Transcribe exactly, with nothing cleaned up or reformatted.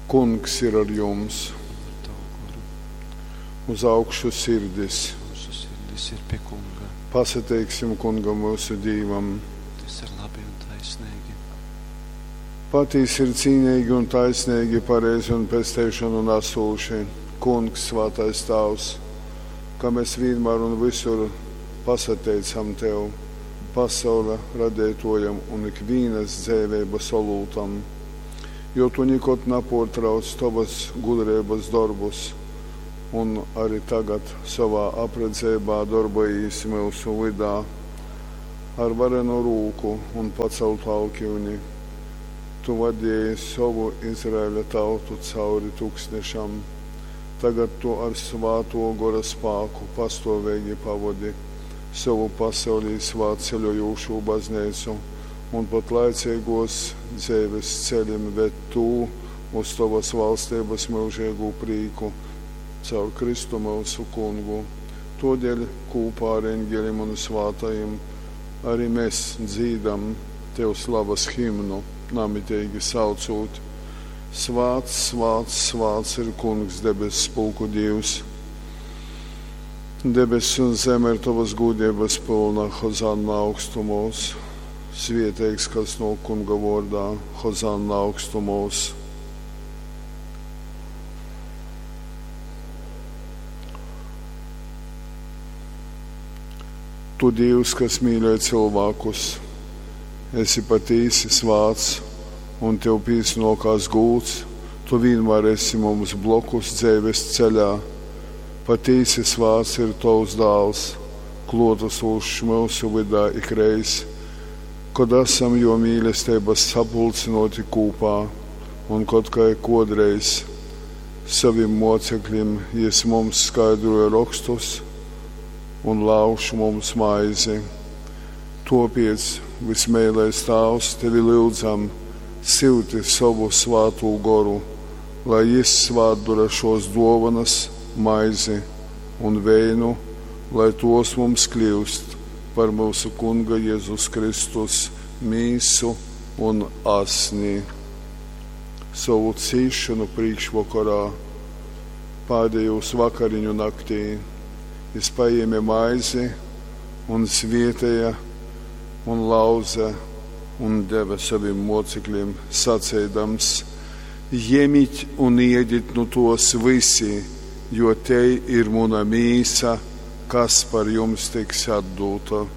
Kungs ir ar jums! Un ar tavu goru. Uz augšu sirdis! Mūsu sirdis ir pie Kunga. Pasateiksim Kungam myusu Dīvam! Tas ir labi un taisnīgi. Patīsi ir cīnīgi un taisnīgi, pareizi un pesteišanu nesūši. Kungs, svētais Tāvs, ka mēs vienmēr un visur pasateicam Tev, pasaule radētojam un ikvīnas dzēveibas olūtam, jo Tu nikod naportrauc Tavas gudrības darbus, un arī tagad savā apredzībā darbojīs mūsu vydā ar varenu rūku un paceltu alkiuni. Tu vadīji savu Izraēļa tautu cauri tuksnešam. Tagad tu ar svāto gora spāku pastāvīgi pavadi savu pasaulī svātceļojošo baznīcu un pat laicīgos dzeives ceļiem ved tu uz tavas valstības mūžīgu prīku caur Kristu mūsu kungu. Todēļ kopā ar eņģelim un svātajiem arī mēs dzīdam tev slavas himnu, namitīgi saucot: Svāts, svāts, svāts ir Kungs debess pulku Dievs. Debess un zeme ir tavas gūdības pilna, Hozanna augstumos. Svieteigs, kas no Kunga vārdā, Hozanna augstumos. Tu, Dievs, kas mīļo cilvēkus, esi patīsi svāts un tev pīsnokās gūts, tu vienmēr esi mums blokus dzeives ceļā. Patīsi svāts ir tavs dāls, klotasūšs mūsu vydā ikreiz, kad esam jo mīlestības sapulcinoti kūpā, un kad kā kodreiz saviem mocekļiem jis mums skaidroja rakstus un lauž mums maizi. Topiec, vismēlais Tāvs, tevi lūdzam, silti savu svātū goru, lai jis svātdura šos dovanas, maizi un veinu, lai tos mums kļūst par mūsu Kunga Jēzus Kristus mīsu un asni. Savu cīšanu priekšvakarā, pēdējos vakariņu naktī, jis paēma maizi un svietēja un lauza un deva saviem mocekļiem, sacēdams: Ņemiet un ēdiet nu tos visi, jo te ir mana mīsa, kas par jums tiks atdota.